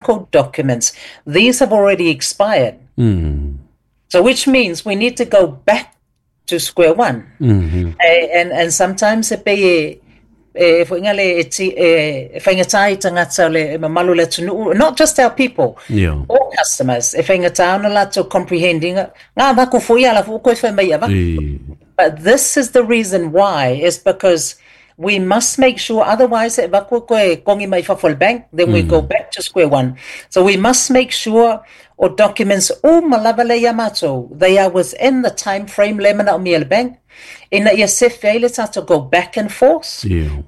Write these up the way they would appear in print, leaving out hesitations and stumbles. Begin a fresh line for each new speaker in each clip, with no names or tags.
Code documents these have already expired so which means we need to go back to square one and and sometimes e pei e e foʻiga le e ti e e faigata i tagata o le mamalu o le atunuu not just our people
Yeah.
all customers e faigata ona latou comprehend ina ngā vaku foʻi ala foʻi koe fai mai ava
E.
But this is the reason why is because we must make sure otherwise e vaku koe kongi mai fafo le bank then we go back to square one. So we must make sure o documents uma lava le ia matou they are within the time frame le manaomia e le bank ina ia sefe ai le tatou go back and forth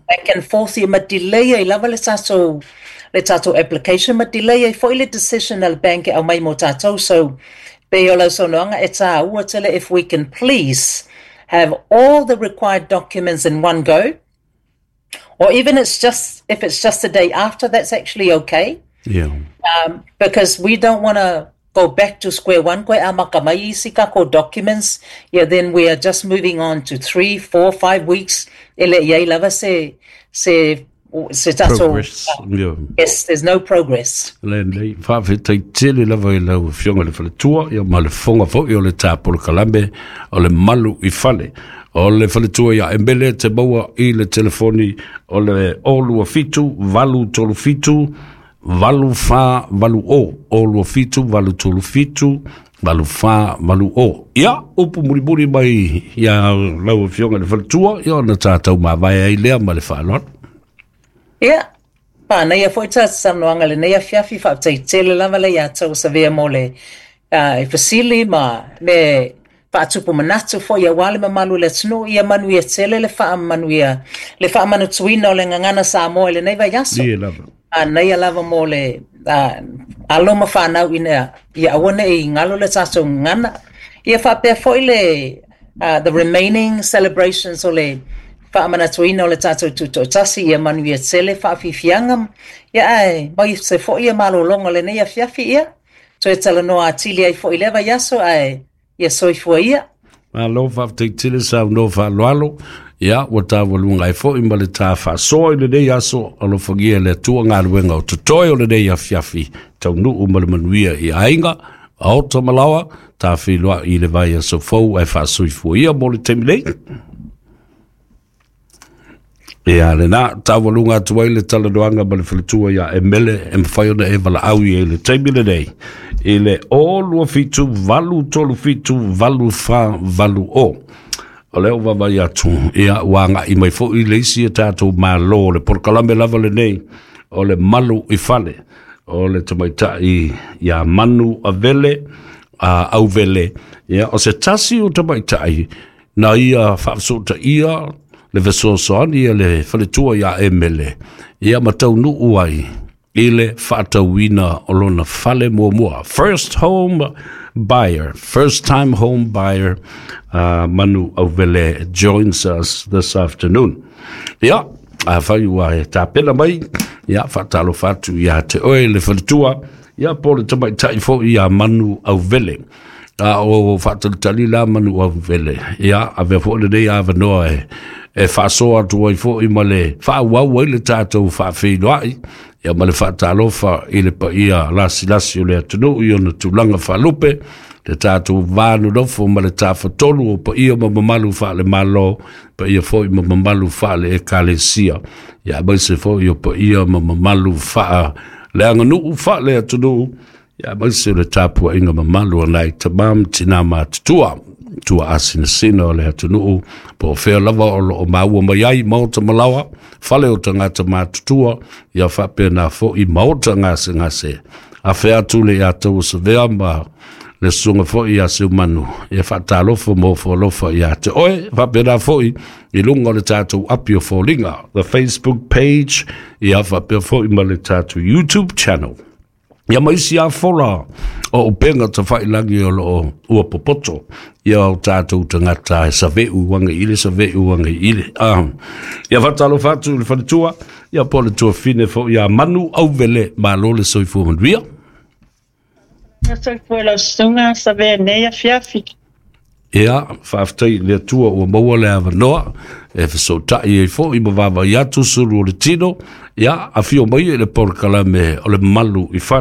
back and forth ia ma delay ai lava le tatou le tatou application ma delay ai foi le decision a le bank e aumai mo tatou so pei o lau saunoaga e tāua tele if we can please have all the required documents in one go or even it's just if it's just a day after that's actually okay because we don't want to go back to square one koe amaka mai isi kako documents yeah then we are just moving on to 3 4 5 weeks e le iai lava se se se tatou
Progress. Yeah.
yes there's no progress.
Lenei, faafetai tele lava i lau Afioga i le Faletua, ia ma le fofoga foi o le tā polokalame o le malu i fale. O le Faletua ia Emele te maua i le telefoni o le 027 837 8480. 027 837 8480. Ia, upu mulimuli mai ia lau Afioga i le Faletua, ia ona tātou mavae ai lea ma le faaaloalo.
Ia, pānaia foi ta saunoaga lenei afiafi faafetai tele lava le ia tou savea mo le e fesili ma le faatupu manatu foi aua le mamalu o le atunuu ia manuia tele le faamanuia le faamanatuina o le gagana Samoa i lenei vaiaso.
Ie lava.
Manaia lava mo le alo ma fanau ina ia aua nei galo le tatou gagana. Ia faapea foi le the remaining celebrations o le faamanatuina o le tatou tutoatasi ia manuia tele faafiafiaga ia ae mai se foi ia malologa o lenei afiafi ia toe talanoa atili ai foi i lea vaiaso ae ia soifua ia.
Malo faafetai tele saunoa faaaloalo. Ia, ua taualuga ai foi ma le ta faasoa i lenei aso, alofagia e le Atua galuega o totoe o lenei afiafi, taunuu ma le manuia i aiga, maota ma laoa, ta feiloai i le vaiaso fou ae faasoifua ia mo le taimi nei. Ia, lena, taualuga atu ai le talanoaga ma le faletua ia Emele e mafai ona e valaau i ai i le taimi lenei i le 027 837 8480. O lea ua vaavaai atu, ia, ua agai mai foi le isi a tatou Malo, le polokalame lava lenei o le malu i fale, o le tamaitai ia Manu Avele, a Auvele, ia, o se tasi o tamaitai na ia faafesootaia le fesoasoani a le faletua ia Emele, ia ma taunuu ai i le faatauina o lona fale muamua. First home buyer, first time home buyer, Manu Auvele joins us this afternoon. Ia, afai ua e tapena mai, ia, faatalofa atu ia te oe le faletua, ia po o le tamaitai foi ia Manu Auvele. A o faatalitali la Manu Auvele, ia, avea foi lenei avanoa e e faasoa atu ai foi ma le faaauau ai le tatou faafeiloai, ia ma le faatalofa i le paia lasilasi o le atunuu i ona tulaga faalupe, le tatou va nonofo ma le tafatolu o paia ma mamalu faale-Malo, paia foi ma mamalu faale-Ekalesia, ia aemaise foi o paia ma mamalu faaleaganuu faale-atunuu, ia aemaise o le tapuaiga mamalu a nai tama ma tina matutua, tua asinasina o le atunuu, po o fea lava o loo maua mai ai maota ma laoa, fale o tagata matutua, ia faapena foi maota gasegase. Afe atu le ia tau Savea ma le susuga foi ia Seumanu, ia faatalofa ma ofo alofa ia te oe, faapena foi i luga o le tatou api o foliga, the Facebook page, ia faapea foi ma le tatou YouTube channel. Ia ma isi afola o upega tafailagi o loo ua popoto ia o tatou tagata e saveu age i le saveu age i le. Ia faatalofa atu i le faletua, ia po o le tuafine foi ia Manu Auvele, malo le soifua manuia.
Soifua lau susuga Savea nei afiafi.
Ia, faafetai i le Atua ua maua le avanoa e fesootai ai foi ma vaavaai atu sulu o le tino. Ia, afio mai i le polokalame o le Malu i Fale.